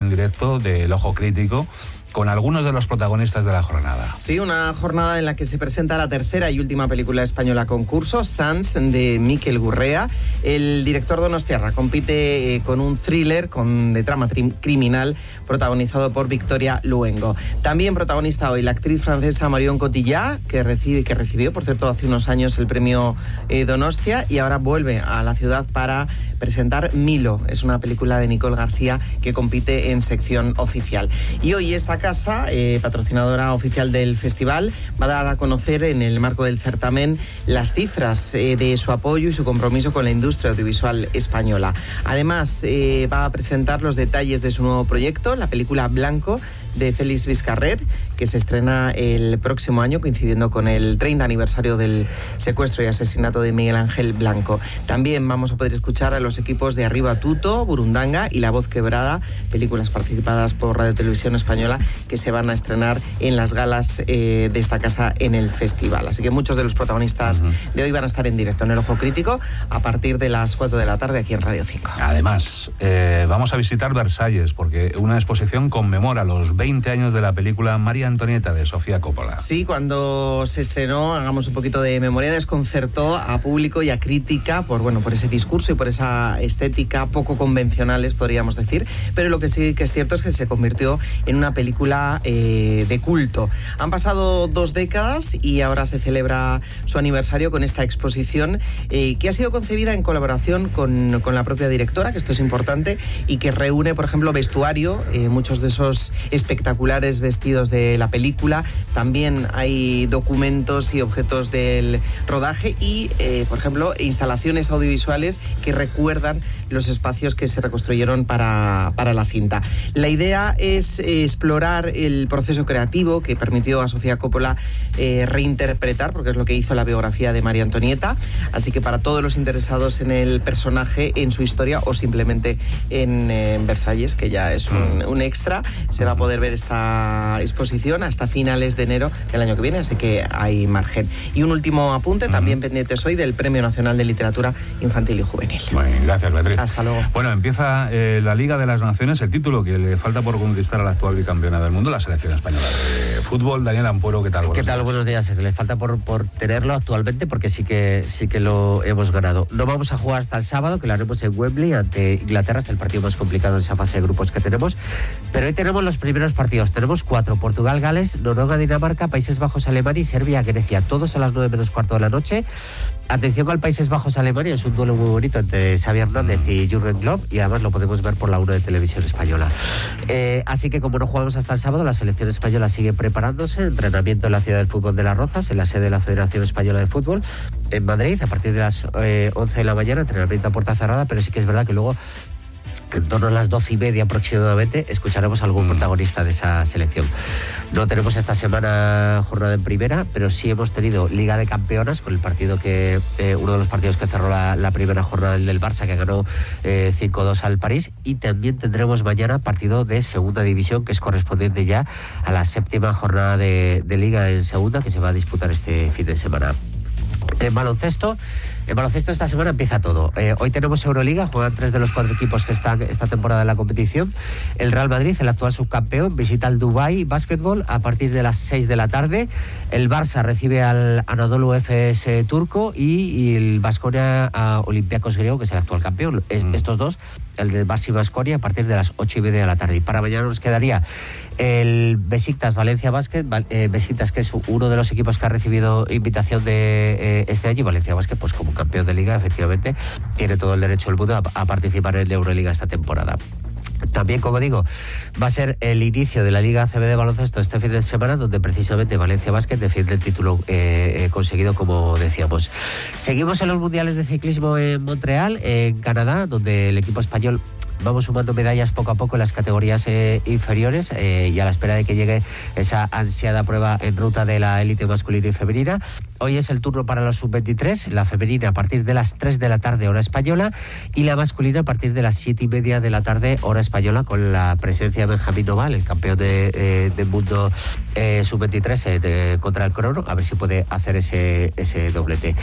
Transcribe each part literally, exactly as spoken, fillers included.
en directo del Ojo Crítico, con algunos de los protagonistas de la jornada. Sí, una jornada en la que se presenta la tercera y última película española concurso, Sants, de Mikel Gurrea. El director donostiarra compite eh, con un thriller con, de trama tri- criminal protagonizado por Victoria Luengo. También protagonista hoy la actriz francesa Marion Cotillard, que, recibe, que recibió, por cierto, hace unos años el premio eh, Donostia, y ahora vuelve a la ciudad para presentar Milo. Es una película de Nicole García que compite en sección oficial. Y hoy esta casa, eh, patrocinadora oficial del festival, va a dar a conocer en el marco del certamen las cifras eh, de su apoyo y su compromiso con la industria audiovisual española. Además, eh, va a presentar los detalles de su nuevo proyecto, la película Blanco, de Félix Vizcarret, que se estrena el próximo año, coincidiendo con el treinta aniversario del secuestro y asesinato de Miguel Ángel Blanco. También vamos a poder escuchar a los equipos de Arriba Tuto, Burundanga y La Voz Quebrada, películas participadas por Radio Televisión Española, que se van a estrenar en las galas eh, de esta casa en el festival. Así que muchos de los protagonistas uh-huh. de hoy van a estar en directo en el Ojo Crítico a partir de las cuatro de la tarde aquí en Radio cinco. Además, eh, vamos a visitar Versalles, porque una exposición conmemora los veinte años de la película María Antonieta de Sofía Coppola. Sí, cuando se estrenó, hagamos un poquito de memoria, desconcertó a público y a crítica por, bueno, por ese discurso y por esa estética poco convencionales, podríamos decir, pero lo que sí que es cierto es que se convirtió en una película eh, de culto. Han pasado dos décadas y ahora se celebra su aniversario con esta exposición eh, que ha sido concebida en colaboración con, con la propia directora, que esto es importante, y que reúne, por ejemplo, vestuario, eh, muchos de esos espectaculares vestidos de la película. También hay documentos y objetos del rodaje y, eh, por ejemplo, instalaciones audiovisuales que recuerdan los espacios que se reconstruyeron para, para la cinta. La idea es eh, explorar el proceso creativo que permitió a Sofía Coppola eh, reinterpretar, porque es lo que hizo la biografía de María Antonieta. Así que para todos los interesados en el personaje, en su historia o simplemente en, eh, en Versalles, que ya es un, un extra, se va a poder ver esta exposición hasta finales de enero del año que viene, así que hay margen. Y un último apunte, uh-huh. también pendientes hoy del Premio Nacional de Literatura Infantil y Juvenil. Bueno, gracias, Beatriz. Hasta luego. Bueno, empieza eh, la Liga de las Naciones, el título que le falta por conquistar a la actual bicampeona del mundo, la selección española de fútbol. Daniel Ampuero, ¿qué tal? Buenos ¿Qué tal? Días. Buenos días. Le falta por, por tenerlo actualmente, porque sí que, sí que lo hemos ganado. No vamos a jugar hasta el sábado, que lo haremos en Wembley ante Inglaterra, es el partido más complicado en esa fase de grupos que tenemos, pero hoy tenemos los primeros partidos. Tenemos cuatro: Portugal, Gales, Noruega, Dinamarca, Países Bajos, Alemania y Serbia, Grecia, todos a las nueve menos cuarto de la noche. Atención con Países Bajos, Alemania, es un duelo muy bonito entre Xavi Hernández y Jürgen Klopp, y además lo podemos ver por la uno de Televisión Española. Eh, así que como no jugamos hasta el sábado, la selección española sigue preparándose, entrenamiento en la ciudad del fútbol de Las Rozas, en la sede de la Federación Española de Fútbol, en Madrid, a partir de las eh, once de la mañana, entrenamiento a puerta cerrada, pero sí que es verdad que luego, en torno a las doce y media aproximadamente, escucharemos a algún protagonista de esa selección. No tenemos esta semana jornada en primera, pero sí hemos tenido Liga de Campeonas, con el partido que eh, uno de los partidos que cerró la, la primera jornada, el del Barça, que ganó eh, cinco dos al París, y también tendremos mañana partido de Segunda División, que es correspondiente ya a la séptima jornada de, de Liga en Segunda, que se va a disputar este fin de semana. En baloncesto, en baloncesto esta semana empieza todo. Eh, hoy tenemos Euroliga, juegan tres de los cuatro equipos que están esta temporada en la competición. El Real Madrid, el actual subcampeón, visita el Dubai Basketball a partir de las seis de la tarde. El Barça recibe al Anadolu Efes eh, turco y, y el Baskonia a Olympiacos griego, que es el actual campeón. Es, mm. Estos dos, el de Barça y Baskonia, a partir de las ocho y media de la tarde. Y para mañana nos quedaría el Besiktas Valencia Basket, eh, Besiktas, que es uno de los equipos que ha recibido invitación de eh, este año, y Valencia Basket, pues como campeón de liga, efectivamente, tiene todo el derecho del mundo a, a participar en la Euroliga esta temporada. También, como digo, va a ser el inicio de la Liga A C B de baloncesto este fin de semana, donde precisamente Valencia Basket defiende el título eh, eh, conseguido, como decíamos. Seguimos en los mundiales de ciclismo en Montreal, en Canadá, donde el equipo español vamos sumando medallas poco a poco en las categorías eh, inferiores eh, y a la espera de que llegue esa ansiada prueba en ruta de la élite masculina y femenina. Hoy es el turno para la sub veintitrés, la femenina a partir de las tres de la tarde, hora española, y la masculina a partir de las siete y media de la tarde, hora española, con la presencia de Benjamín Noval, el campeón de, eh, del mundo eh, sub veintitrés eh, de, contra el crono, a ver si puede hacer ese, ese doblete.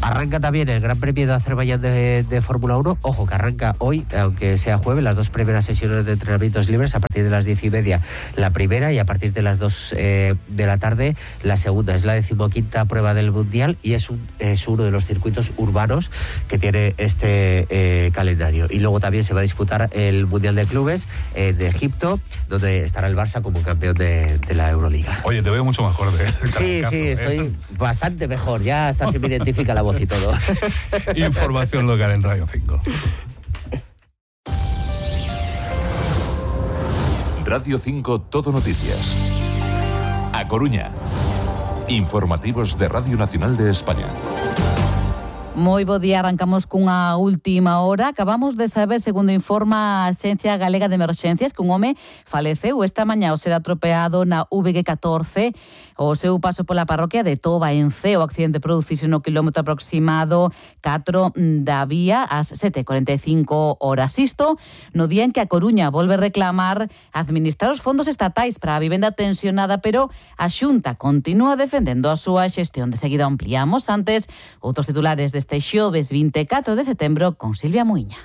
Arranca también el Gran Premio de Azerbaiyán de, de Fórmula uno. Ojo, que arranca hoy, aunque sea jueves, las dos primeras sesiones de entrenamientos libres a partir de las diez y media la primera, y a partir de las dos eh, de la tarde la segunda. Es la decimoquinta prueba del Mundial y es, un, es uno de los circuitos urbanos que tiene este eh, calendario. Y luego también se va a disputar el Mundial de Clubes eh, de Egipto, donde estará el Barça como campeón de, de la Euroliga. Oye, te veo mucho mejor de Sí, sí, ¿eh? Estoy bastante mejor. Ya hasta se me identifica la voz y todo. Información local en Radio cinco. Radio cinco Todo Noticias. A Coruña. Informativos de Radio Nacional de España. Moi bo día, arrancamos cunha última hora. Acabamos de saber, segundo informa a Axencia Galega de Emerxencias, que un home faleceu esta mañá ao ser atropeado na V G catorce o seu paso pola parroquia de Toba, en Ceo. O accidente producixe no quilómetro aproximado catro da vía ás sete e cuarenta e cinco horas. Isto no día en que a Coruña volve reclamar administrar os fondos estatais para a vivenda tensionada, pero a Xunta continúa defendendo a súa xestión. De seguida ampliamos. Antes, outros titulares deste xoves vinte e catro de setembro con Silvia Muiña.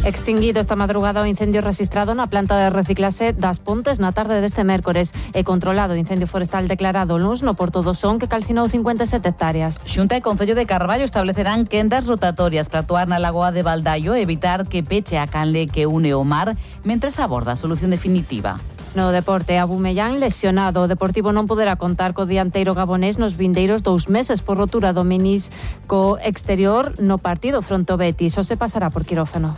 Extinguido esta madrugada o incendio registrado na planta de reciclaxe das Pontes na tarde deste mércores e controlado o incendio forestal declarado luns no Porto do Son, que calcinou cincuenta e sete hectáreas. Xunta e Concello de Carballo establecerán quendas rotatorias para actuar na lagoa de Baldaio e evitar que peche a canle que une o mar mentres aborda a solución definitiva. No deporte, Abumellán lesionado. O Deportivo non poderá contar co dianteiro gabonés nos vindeiros dous meses por rotura do menisco exterior no partido fronte ao Betis. O se pasará por quirófano.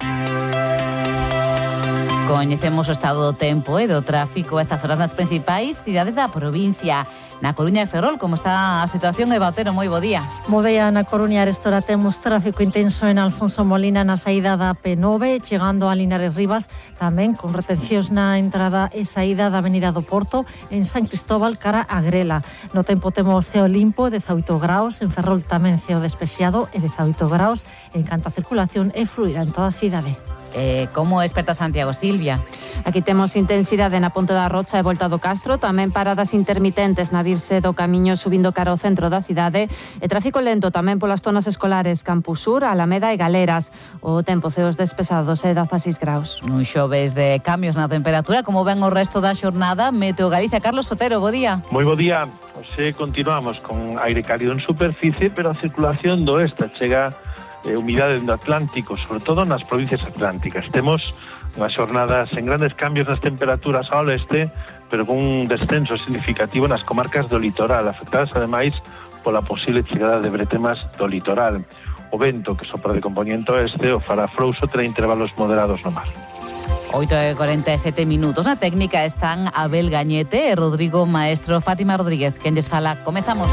Coñecemos o estado do tempo e do tráfico a estas horas nas principais cidades da provincia. Na Coruña e Ferrol, como está a situación, Eva Otero? Moi bo día. Bo día, na Coruña arestora temos tráfico intenso en Alfonso Molina na saída da P nove, chegando a Linares Rivas, tamén con retencións na entrada e saída da Avenida do Porto, en San Cristóbal cara a Grela. No tempo temos ceo limpo, dezaoito graus, en Ferrol tamén ceo despexado e dezaoito graus, en canto a circulación e fluida en toda a cidade. Eh, como experta Santiago, Silvia? Aquí temos intensidade na Ponte da Rocha e Volta do Castro, tamén paradas intermitentes na virse do camiño subindo cara ao centro da cidade e tráfico lento tamén polas zonas escolares Campus Sur, Alameda e Galeras. O tempo ceos despesados e dezaseis graus. Un xoves de cambios na temperatura, como ven o resto da xornada. Meteo Galicia, Carlos Sotero, bo día. Moi bo día. Hoxe continuamos con aire cálido en superficie, pero a circulación do oeste chega eh, humidade do Atlántico, sobre todo nas provincias atlánticas. Temos unhas xornadas en grandes cambios nas temperaturas ao leste, pero con un descenso significativo nas comarcas do litoral, afectadas ademais pola posible chegada de bretemas do litoral. O vento que sopra de componente oeste o fará frouxo, terá intervalos moderados no mar. oito e cuarenta e sete minutos. Na técnica están Abel Gañete e Rodrigo Maestro. Fátima Rodríguez, quen lles fala. Comezamos.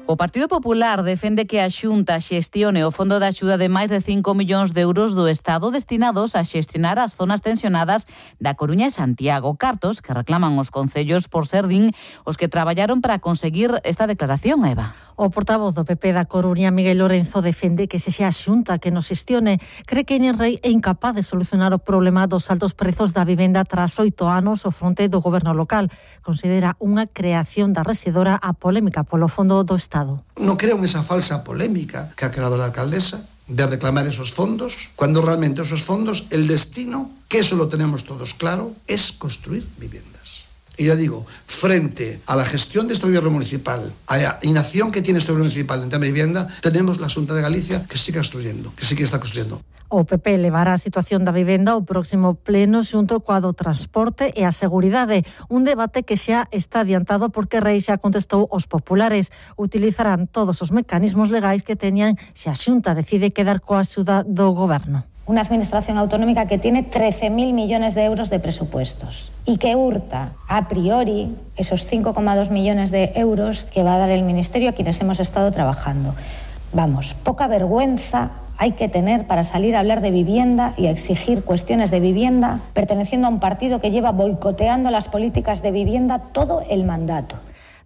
O Partido Popular defende que a Xunta xestione o fondo de axuda de máis de cinco millóns de euros do Estado destinados a xestionar as zonas tensionadas da Coruña e Santiago. Cartos que reclaman os concellos por ser din os que traballaron para conseguir esta declaración, Eva. O portavoz do P P da Coruña, Miguel Lorenzo, defende que se xa a Xunta que nos xestione. Cree que Enerrei é incapaz de solucionar o problema dos altos prezos da vivenda tras oito anos ao fronte do goberno local. Considera unha creación da rexedora a polémica polo fondo do Estado. No creo en esa falsa polémica que ha creado la alcaldesa de reclamar esos fondos, cuando realmente esos fondos, el destino, que eso lo tenemos todos claro, es construir viviendas. Y ya digo, frente a la gestión de este gobierno municipal, a la inacción que tiene este gobierno municipal en tema de vivienda, tenemos la Xunta de Galicia que sigue construyendo, que sí que está construyendo. O P P levará a situación da vivenda ao próximo pleno xunto coa do transporte e a seguridade. Un debate que xa está adiantado porque Rei xa contestou aos populares. Utilizarán todos os mecanismos legais que teñan se a Xunta decide quedar coa axuda do goberno. Una administración autonómica que tiene trece mil millones de euros de presupuestos y que hurta a priori esos cinco coma dos millones de euros que va a dar el Ministerio a quienes hemos estado trabajando. Vamos, poca vergüenza hay que tener para salir a hablar de vivienda y a exigir cuestiones de vivienda, perteneciendo a un partido que lleva boicoteando las políticas de vivienda todo el mandato?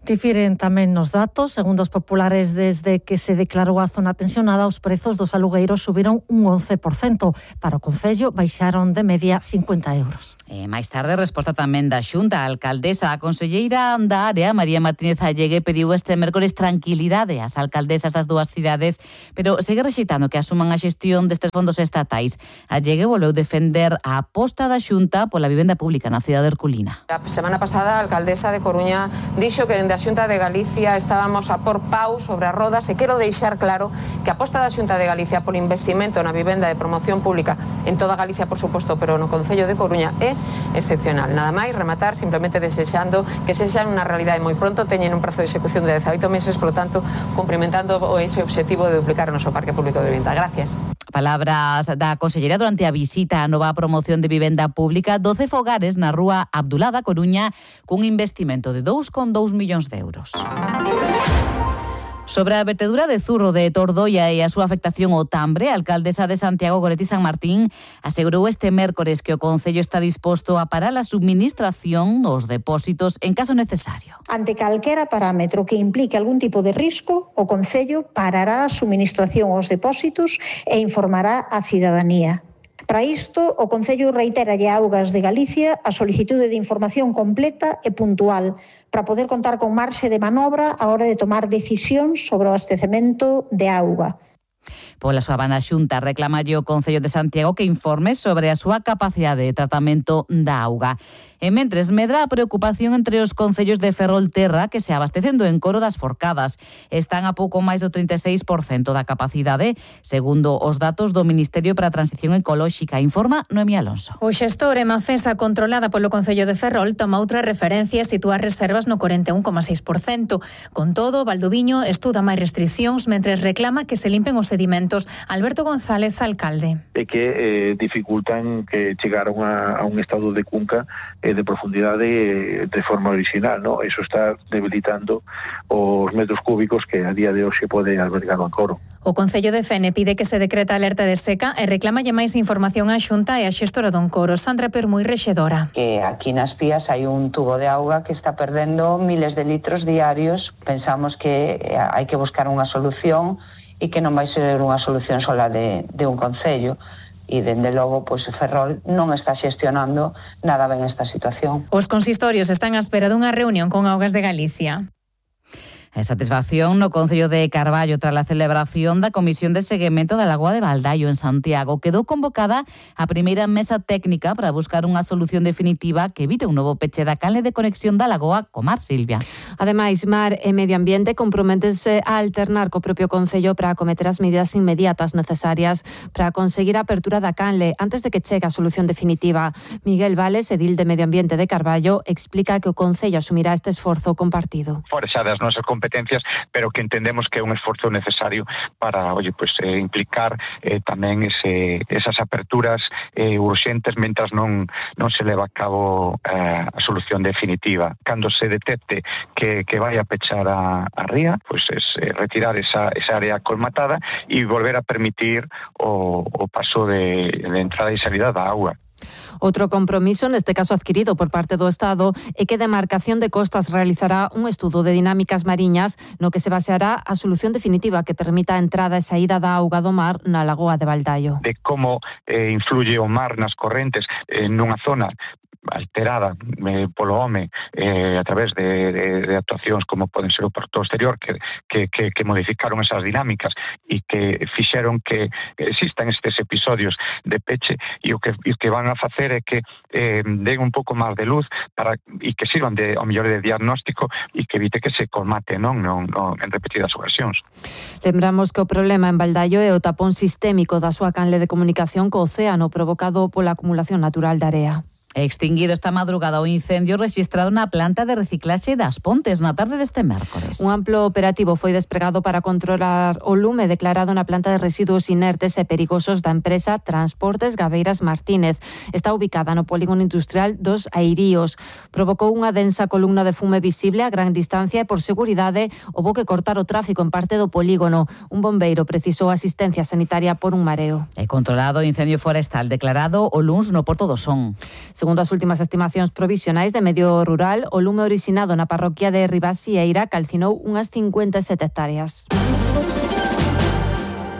Difiren tamén nos datos. Segundo os populares, desde que se declarou a zona tensionada, os prezos dos alugueiros subiron un once por cento. Para o Concello, baixaron de media cincuenta euros. E máis tarde, resposta tamén da Xunta. A alcaldesa, a conselleira da área, María Martínez Allegue, pediu este mércores tranquilidade ás alcaldesas das dúas cidades, pero segue rexeitando que asuman a xestión destes fondos estatais. Allegue volveu defender a aposta da Xunta pola vivenda pública na cidade herculina. A semana pasada, a alcaldesa de Coruña dixo que dende a Xunta de Galicia estábamos a por pau sobre as rodas e quero deixar claro que a aposta da Xunta de Galicia por investimento na vivenda de promoción pública en toda Galicia, por suposto, pero no Concello de Coruña é excepcional. Nada máis, rematar simplemente desexando que sexa unha realidade moi pronto, teñen un prazo de execución de dezaoito meses, por lo tanto, cumprimentando ese objetivo de duplicar o noso parque público de vivenda. Gracias. Palabras da consellera durante a visita á nova promoción de vivenda pública, doce fogares na rúa Abdulá da Coruña cun investimento de dous coma dous millóns de euros. Sobre a vertedura de Zurro de Tordoia e a súa afectación ao tambre, a alcaldesa de Santiago, Goretti San Martín, asegurou este mércores que o Concello está disposto a parar a subministración dos depósitos en caso necesario. Ante calquera parámetro que implique algún tipo de risco, o Concello parará a subministración aos depósitos e informará á cidadanía. Para isto, o Concello reiteralle a Augas de Galicia a solicitude de información completa e puntual para poder contar con marxe de manobra a hora de tomar decisións sobre o abastecemento de auga. Pola súa banda, Xunta reclamalle o Concello de Santiago que informe sobre a súa capacidade de tratamento da auga. E mentres medra a preocupación entre os concellos de Ferrolterra que se abastecendo en Coro das Forcadas. Están a pouco máis do trinta e seis por cento da capacidade, segundo os datos do Ministerio para a Transición Ecolóxica, informa Noemí Alonso. O xestor Emafesa, controlada polo Concello de Ferrol, toma outra referencia e sitúa reservas no corenta e un coma seis por cento. Con todo, Valdoviño estuda máis restriccións mentres reclama que se limpen os sedimentos. Alberto González, alcalde. E que eh, dificultan que chegar a, unha, a un estado de cunca eh, de profundidade eh, de forma original, ¿no? Eso está debilitando os metros cúbicos que a día de hoxe pode albergar o Encoro. O Concello de Fene pide que se decreta alerta de seca e reclamalle máis información á Xunta e á xestora do Encoro. Sandra Permui, rexedora. Que aquí nas Pías hai un tubo de auga que está perdendo miles de litros diarios. Pensamos que hai que buscar unha solución e que non vai ser unha solución sola de, de un concello. E, dende logo, pois, o Ferrol non está xestionando nada ben esta situación. Os consistorios están á espera dunha reunión con Augas de Galicia. A satisfacción no Concello de Carballo tras a celebración da Comisión de Seguimento da Lagoa de Baldaio en Santiago. Quedou convocada a primeira mesa técnica para buscar unha solución definitiva que evite un novo peche da canle de conexión da Lagoa co mar, Silvia. Ademais, Mar e Medio Ambiente comprométense a alternar co propio Concello para acometer as medidas inmediatas necesarias para conseguir a apertura da canle antes de que chegue a solución definitiva. Miguel Vales, edil de Medio Ambiente de Carballo, explica que o Concello asumirá este esforzo compartido. Fora xa das nosas competencias, pero que entendemos que é un esforzo necesario para, oye, pues, eh, implicar eh, tamén ese, esas aperturas eh, urxentes mentras non, non se leva a cabo eh, a solución definitiva. Cando se detecte que, que vai a pechar a, a ría, pues es eh, retirar esa, esa área colmatada e volver a permitir o, o paso de, de entrada e salida da auga. Outro compromiso, neste caso adquirido por parte do Estado, é que Demarcación de Costas realizará un estudo de dinámicas mariñas no que se baseará a solución definitiva que permita a entrada e saída da auga do mar na Lagoa de Baldaio. De como eh, influye o mar nas correntes eh, nunha zona alterada eh, polo home eh, a través de, de, de actuacións como poden ser o porto exterior que, que, que, que modificaron esas dinámicas e que fixeron que existan estes episodios de peche e o que, o que van a facer é que eh, den un pouco máis de luz para e que sirvan de, ao mellor de diagnóstico e que evite que se colmate non, non, non en repetidas ocasións. Lembramos que o problema en Baldaio é o tapón sistémico da súa canle de comunicación co océano provocado pola acumulación natural da area. Extinguido esta madrugada o incendio registrado na planta de reciclaxe das Pontes na tarde deste mércores. Un amplo operativo foi despregado para controlar o lume declarado na planta de residuos inertes e perigosos da empresa Transportes Gabeiras Martínez. Está ubicada no polígono industrial dos Airíos. Provocou unha densa columna de fume visible a gran distancia e, por seguridade, houbo que cortar o tráfico en parte do polígono. Un bombeiro precisou asistencia sanitaria por un mareo. E controlado o incendio forestal declarado o luns no Porto do Son. Segundo as últimas estimacións provisionais de Medio Rural, o lume originado na parroquia de Ribasieira calcinou unhas cincuenta e sete hectáreas.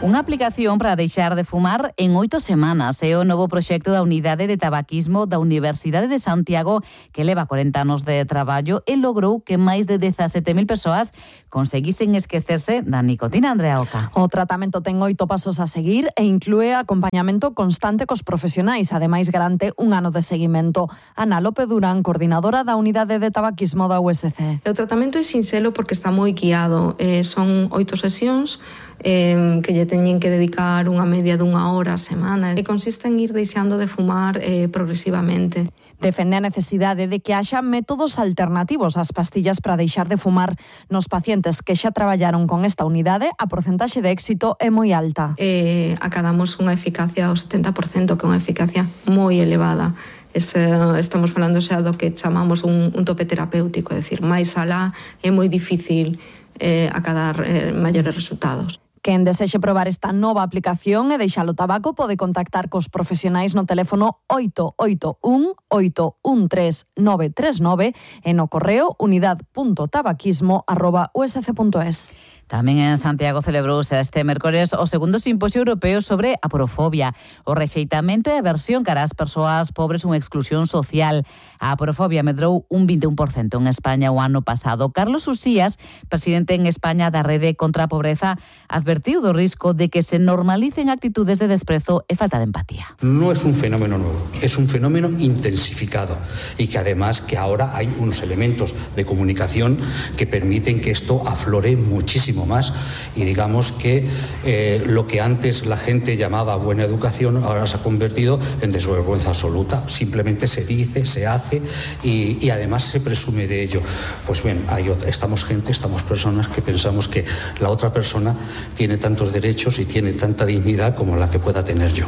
Unha aplicación para deixar de fumar en oito semanas é o novo proxecto da Unidade de Tabaquismo da Universidade de Santiago, que leva corenta anos de traballo e logrou que máis de dezasete mil persoas conseguisen esquecerse da nicotina. Andrea Oca. O tratamento ten oito pasos a seguir e inclúe acompañamento constante cos profesionais. Ademais, garante un ano de seguimento. Ana López Durán, coordinadora da Unidade de Tabaquismo da U S C. O tratamento é sinxelo porque está moi guiado. Eh, son oito sesións eh, que lle teñen que dedicar unha media dunha hora a semana e consiste en ir deixando de fumar eh, progresivamente. Defende a necesidade de que haxa métodos alternativos ás pastillas para deixar de fumar. Nos pacientes que xa traballaron con esta unidade, a porcentaxe de éxito é moi alta. Eh, acadamos unha eficacia ao setenta por cento, que é unha eficacia moi elevada. Ese, estamos falando xa do que chamamos un, un tope terapéutico, é dicir, máis alá é moi difícil eh, acadar eh, maiores resultados. Quen desexe probar esta nova aplicación e deixar o tabaco pode contactar cos profesionais no teléfono oito oito un oito un tres nove tres nove e no correo unidad punto tabaquismo arroba u s c punto es. Tamén en Santiago celebrouse este mércores o segundo simposio europeo sobre a aporofobia, o rexeitamento e a aversión cara ás persoas pobres unha exclusión social. A aporofobia medrou un vinte e un por cento en España o ano pasado. Carlos Usías, presidente en España da Rede contra a Pobreza, advertiu do risco de que se normalicen actitudes de desprezo e falta de empatía. No es un fenómeno nuevo, es un fenómeno intensificado y que además que ahora hay unos elementos de comunicación que permiten que esto aflore muchísimo más y digamos que eh, lo que antes la gente llamaba buena educación ahora se ha convertido en desvergüenza absoluta. Simplemente se dice, se hace y, y además se presume de ello. Pues bien, hay otra, estamos gente, estamos personas que pensamos que la otra persona tiene tantos derechos y tiene tanta dignidad como la que pueda tener yo.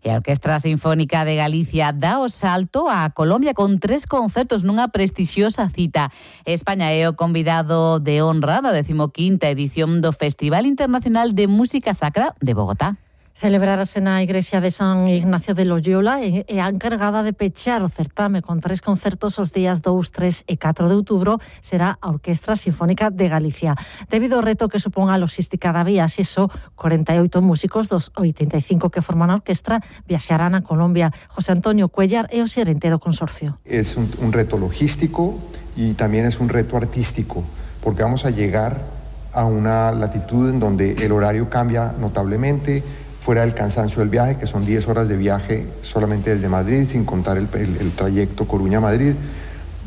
E a Orquestra Sinfónica de Galicia dá o salto a Colombia con tres concertos nunha prestixiosa cita. España é o convidado de honra da decimoquinta edición do Festival Internacional de Música Sacra de Bogotá. Celebrarase na igrexa de San Ignacio de Loyola e a encargada de pechar o certame con tres concertos os días dous, tres e catro de outubro será a Orquestra Sinfónica de Galicia. Debido ao reto que supón a logística da viaxe, só corenta e oito músicos dos oitenta e cinco que forman a orquestra viaxarán a Colombia. José Antonio Cuellar é o xerente do consorcio. Es un, un reto logístico y también es un reto artístico, porque vamos a llegar a una latitud en donde el horario cambia notablemente, fuera del cansancio del viaje, que son diez horas de viaje solamente desde Madrid, sin contar el, el, el trayecto Coruña-Madrid.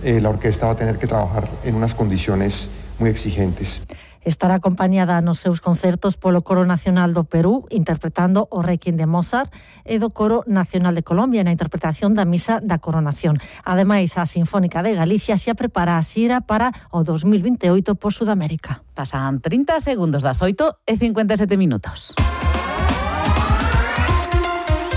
Eh, la orquesta va a tener que trabajar en unas condiciones muy exigentes. Estará acompañada nos seus concertos polo Coro Nacional do Perú, interpretando o Requiem de Mozart, e do Coro Nacional de Colombia na interpretación da Misa da Coronación. Ademais, a Sinfónica de Galicia xa prepara a xira para o dos mil vinte e oito por Sudamérica. Pasan trinta segundos das oito e cincuenta e sete minutos.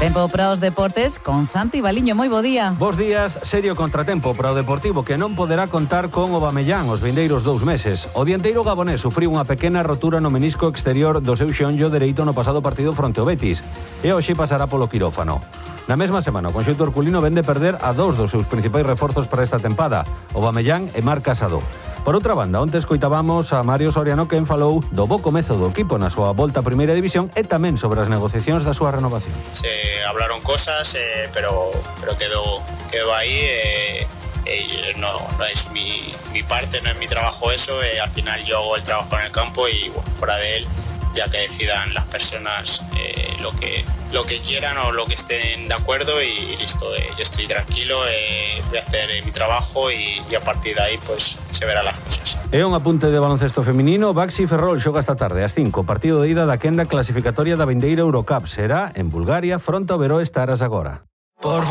Tempo para os deportes con Santi Baliño. Moi bo día. Bos días. Serio contratempo para o Deportivo, que non poderá contar con Aubameyang os vindeiros dous meses. O dianteiro gabonés sufriu unha pequena rotura no menisco exterior do seu xeonllo dereito no pasado partido fronte ao Betis e hoxe pasará polo quirófano. Na mesma semana, o conxunto herculino vende perder a dous dos seus principais reforzos para esta tempada, Aubameyang e Marc Casado. Por outra banda, onte escoitábamos a Mario Soriano, quen falou do bo comezo do equipo na súa volta a primeira división e tamén sobre as negociacións da súa renovación. Se hablaron cosas, eh, pero, pero quedó, quedó ahí. Eh, eh, no, no es mi, mi parte, no es mi trabajo eso. Eh, al final yo hago el trabajo en el campo y bueno, fuera de él, ya que decidan las personas eh, lo que lo que quieran o lo que estén de acuerdo y listo. Eh, yo estoy tranquilo, eh, voy a hacer eh, mi trabajo y, y a partir de ahí pues se verán las cosas. E un apunte de baloncesto feminino. Baxi Ferrol xoga esta tarde ás cinco, partido de ida da quenda clasificatoria da vindeira Eurocup. Será en Bulgaria fronte ao Veroes Taras agora. Por